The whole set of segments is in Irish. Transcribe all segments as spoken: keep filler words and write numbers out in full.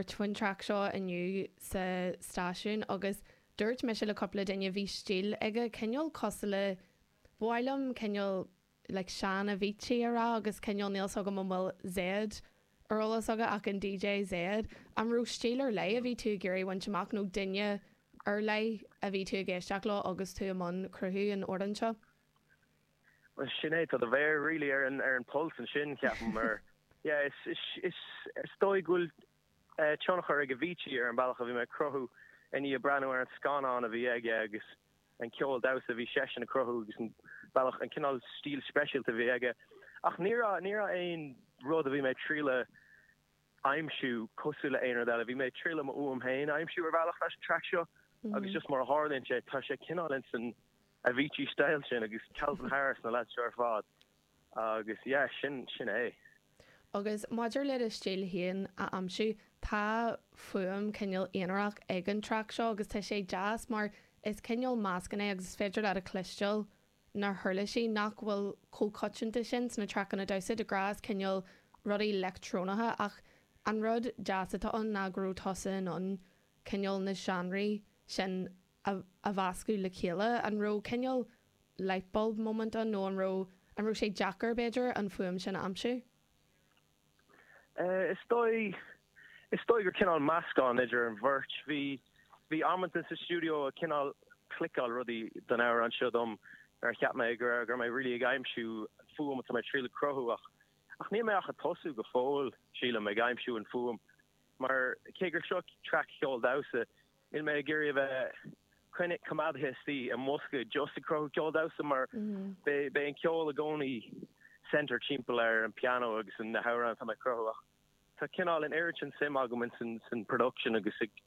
faoin traic seo inniu sa stáisiún agus dúirt mise le cúpla duine bhí stíl aige cineál cosúil le ba mhaith liom cineál like sean Avicii a rá agus cineál níl a fhios agam an bhfuil Zedd ar eolas agat ach an DJ Zedd an raibh stíl ar leith a bhí tú ag iarraidh bhaint amach nó duine ar leith a bhí tú ag éisteacht leo agus tú i mbun cruthú an amhráin seo. Well sin é tá do mhéar really ar an ar an pulse ansin ceapaim mar yeah is is is is dóigh go bhfuil uh, tionchar ag Avicii ar an bealach a bhí mé ag cruthú i ndiaidh breathnú ar an scannán a bhí aige agus an ceol damhsa a bhí seisean ag cruthú agus an bealach an cineál stíl speisialta a bhí aige. Ach ní raibh ní raibh aon rud a bhí mé ag triail a aimsiú cosúil le aon rud eile, bhí mé ag triail mo fhuaim féin a aimsiú ar bhealach leis an track seo agus just mar a tharlaíonn sé tá sé cineál in san Avicii style sin agus Calvin Harris na lads seo ar fad agus yeah sin sin é. Agus maidir le do stíl féin a aimsiú tá fuaim cineál aonarach ag an traic seo agus tá sé deas mar is cineál meascán é agus is féidir leat a chloisteáil na huirlisí nach bhfuil chomh coitianta sin sna traiceanna damhsa de ghnáth cineál rudaí leictreonacha ach an rud deas atá ann ná go raibh tusa in ann cineál na seánraí sin a, a mheascadh le chéile an raibh cineál lightbulb moment ann nó an raibh an raibh sé deacair b'fhéidir an fuaim sin a aimsiú? Uh, is dóigh is dóigh gur cineál meascán idir an bheirt bhí bhí amanta sa studio a cineál cliceáil rudaí don amhrán seo dom ar cheap mé gur gur mé really ag aimsiú fuaim atá mé ag triail cruthú ach ach níl mé ach ag tosú go fóill sílim ag aimsiú an fuaim mar cé gur seo track ceol damhsa níl mé ag iarraidh a bheith coinne coimeádtha istigh i mbosca just ag cruthú ceol damhsa mar be be an ceol i gcónaí center timpeall ar an piano agus an na hamhráin atá mé cruthú ach tá cineál an oiread sin suim agam in san san production agus ag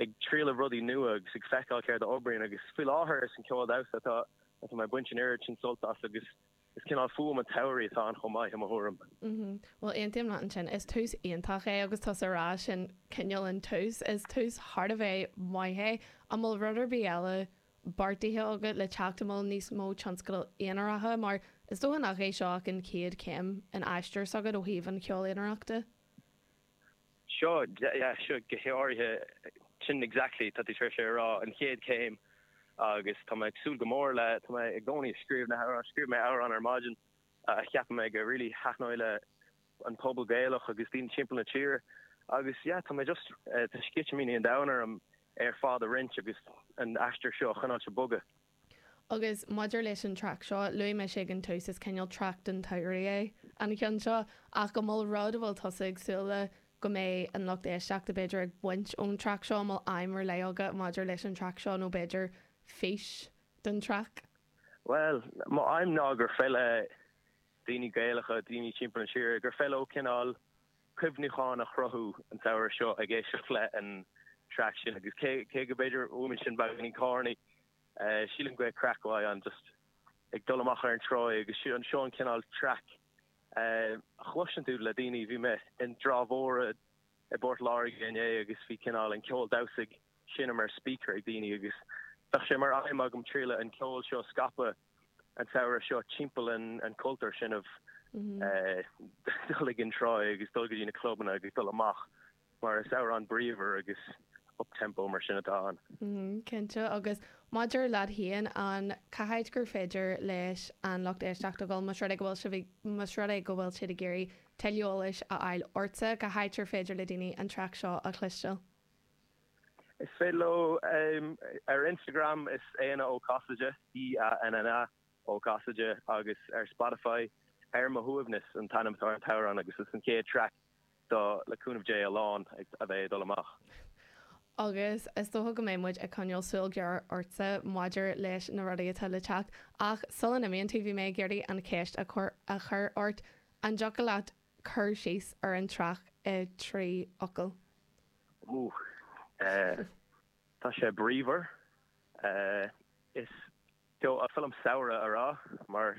ag triail rudaí nua agus ag feiceáil céard a oibríonn agus faoi láthair is an ceol damhsa atá atá mé ag baint an oiread sin sult as agus is cineál fuaim an tsamhraidh atá ann chomh maith i mo thuairim. Mm Well aontaím leat ansin is tús iontach é agus tá rá sin cineál an tús is tús thar a bheith maith é an bhfuil rud ar bith eile beartaithe agat le teacht an bhfuil níos mó tionscadal aonaracha mar is dócha nach é seo ach an chéad chéim in aistear s'agat ó thaobh an cheoil aonarachta. Seo yeah, seo go háirithe sin exactly tá tú sé rá an chéad chéim agus tá mé ag súil go mór le tá mé i gcónaí scríobh na hamhráin scríobh mé amhrán ar maidin a cheapaim mé go really thaitneoidh le an pobal Gaelach agus daoine timpeall na tíre agus yeah, tá mé just uh, tá sceitimíní an domhain orm ar fad a roinnt agus an aistear seo choinneáil ag bogadh. Agus maidir leis an traic seo luaigh mé sé an tús is cineál traic den tsamhradh é an ceann seo ach go bhfuil rud a bhfuil tusa ag súil le go mbeidh an lucht éisteachta b'fhéidir ag baint ón traic seo an bhfuil aidhm ar leith agat maidir leis an traic seo nó b'fhéidir fís don traic. Well, mo aidhm ná gur féidir le daoine Gaelacha daoine timpeall na tíre gur féidir leo cineál cuimhneachán a chruthú an samhradh seo ag éisteacht le an track sin agus cé cé go b'fhéidir uaim sin beagáinín corny uh, sílim go craic an just ag dul amach ar an trá agus an seo an cineál track uh, chloiseann tú le daoine bhí mé in dTrá Mhór i bPort Láirge inné agus bhí cineál an ceol damhsa sin mar speaker ag daoine agus Tá sé mar aidhm agam triail an ceol seo scaipeadh an samhradh seo timpeall an an cultúr sin of dul ag an trá agus dul go dtí na clubanna agus dul amach mar is amhrán bríomhar agus up-tempo mar sin atá ann. Mm, Cinnte agus maidir leat féin an cá háit gur féidir leis an lucht éisteachta dul más rud é go bhfuil más rud é go bhfuil siad ag iarraidh tuilleadh eolais a fháil ortsa cá háit ar féidir le daoine an traic seo a chloisteáil. Is féidir leo um, ar Instagram is Éanna Ó Casaide E A N N A Ó Casaide agus ar Spotify ar mo shuaimhneas an t-ainm atá ar an t-amhrán agus is an chéad track do le cúnamh Dé a lán a bheidh dul amach. Agus is dócha go mbeidh muid ag coinneáil súil ghéar ortsa maidir leis na rudaí atá le teacht ach sula n-imíonn tú bhí mé ag iarraidh an cheist a chur a chur ort an dtiocfadh leat cur síos ar an traic i trí fhocal. Ooh, uh, Tá sé bríomhar uh, is is féidir liom samhradh a rá mar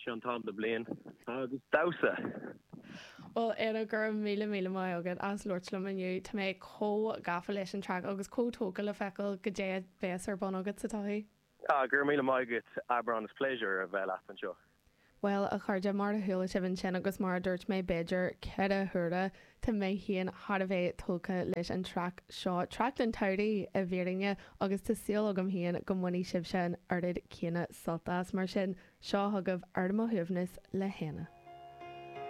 sin an t-am den bhliain agus damhsa. Well Éanna go raibh míle míle maith agat as labhairt liom inniu Tá mé chomh gafa leis an traic agus chomh tógtha le feiceáil goidé a bheas ar bun agat sa todhchaí. Ah, gur míle maith agat Abrán is pléisiúr a bheith leat anseo. Bhuel, a chairde, mar a chuala sibh ansin agus mar a dúirt mé b'fhéidir ceithre huaire, tá mé féin thar a bheith tógtha leis an traic seo, traic den tsamhradh i bhfírinne, agus tá súil agam féin go mbainfidh sibhse an oiread céanna sult as. Mar sin, seo chugaibh Ar Mo Shuaimhneas le hÉanna.